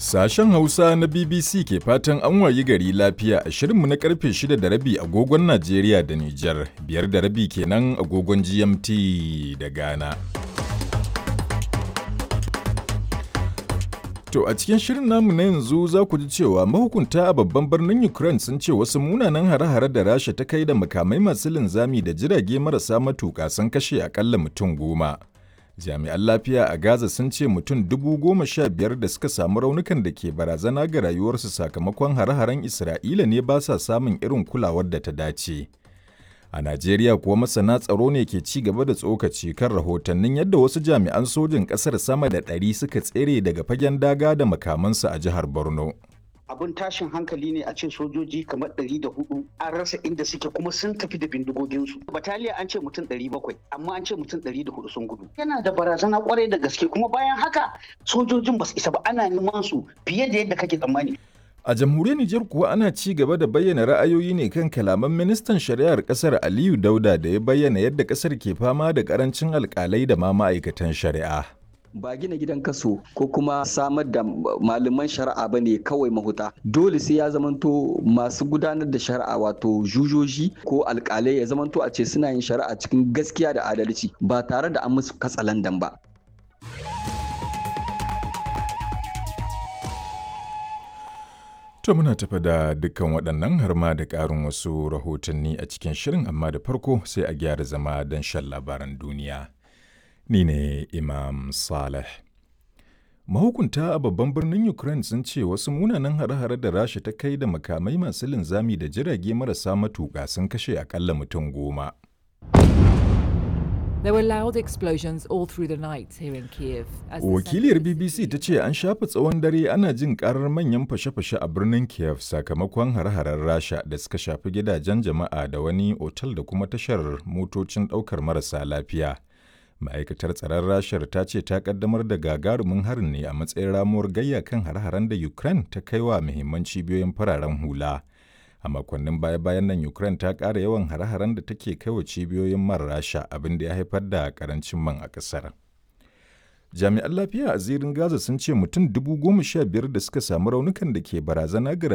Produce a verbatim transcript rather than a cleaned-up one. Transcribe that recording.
Sashen Hausa na B B C ke fatan an wayi gari lafiya a shirinmu na karfe shida da rabi agogon Najeriya da Nijar, biyar da rabi kenan agogon G M T da Ghana. To a cikin shirin namu na yanzu za ku ji cewa mahukunta a babban birnin Ukraine sun ce wasu munanan hare-hare da Rasha ta kai da makamai masu linzami da jirage marasa matuƙa sun kashe akalla mutum goma. Jami'an lafiya a Gaza sun ce mutum dubu goma sha biyar da suka samu raunukan da ke barazana ga rayuwarsu sakamakon hare-haren Isra'ila ne ba sa samun irin kulawar da ta dace. A Najeriya kuwa masana tsaro ne ke ci gaba da tsokaci kan rahotannin yadda wasu jami'an sojin ƙasar sama da ɗari suka tsere daga fagen daga da makamansu a jihar Borno. Abin tashin hankali ne a ce sojoji kamar ɗari da hudu an rasa inda suke kuma sun tafi da bindigoginsu. Bataliya an ce mutum ɗari bakwai amma an ce mutum ɗari da hudu sun gudu. Yana da barazana kwarai da gaske, kuma bayan haka sojojin ba su isa ba, ana neman su fiye da yadda kake tsammani. A jamhuriyar Nijar kuwa ana ci gaba da bayyana ra'ayoyi ne kan kalaman ministan shari'ar kasar Aliyu Dauda da ya bayyana yadda kasar ke fama da karancin alkalai da ma ma'aikatan shari'a. Ba gina gidan kaso ko kuma samar da malaman shari'a ba ne kawai mahuta. Dole sai ya zamanto masu gudanar da shari'a, wato jujoji ko alkalai, ya zamanto a ce suna yin shari'a cikin gaskiya da adalci ba tare da an musu katsalandan ba. To muna tafa da dukkan waɗannan har ma da ƙarin wasu rahotanni a cikin shirin, amma da farko sai a gyara zama don shan labaran duniya. Ni ne Imam Saleh. Mahukunta a babban birnin Ukraine sun ce wasu munanan hare-hare da Rasha ta kai da makamai masu linzami da jirage marasa matuƙa sun kashe akalla mutum goma. There were loud explosions all through the night here in Kiev. As the Wakiliyar center of the B B C city ta ce an shafe tsawon dare ana jin karar manyan fashe-fashe a birnin Kiev sakamakon hare-haren Rasha da suka shafi gidajen jama'a da wani otal da kuma tashar motocin ɗaukar marasa lafiya. Ma'aikatar tsaron Rashar ta ce ta kaddamar da gagarumin harin ne a matsayin ramuwar gayya kan hare-haren da Ukraine ta kai wa muhimman cibiyoyin fararen hula. A makonnin baya-bayan nan Ukraine ta ƙara yawan hare-haren da take kai wa cibiyoyin man Rasha, abin da ya haifar da ƙarancin man a ƙasar. Jami'an lafiya a zirin Gaza sun ce mutum dubu goma sha biyar da suka samu raunukan da ke barazana ga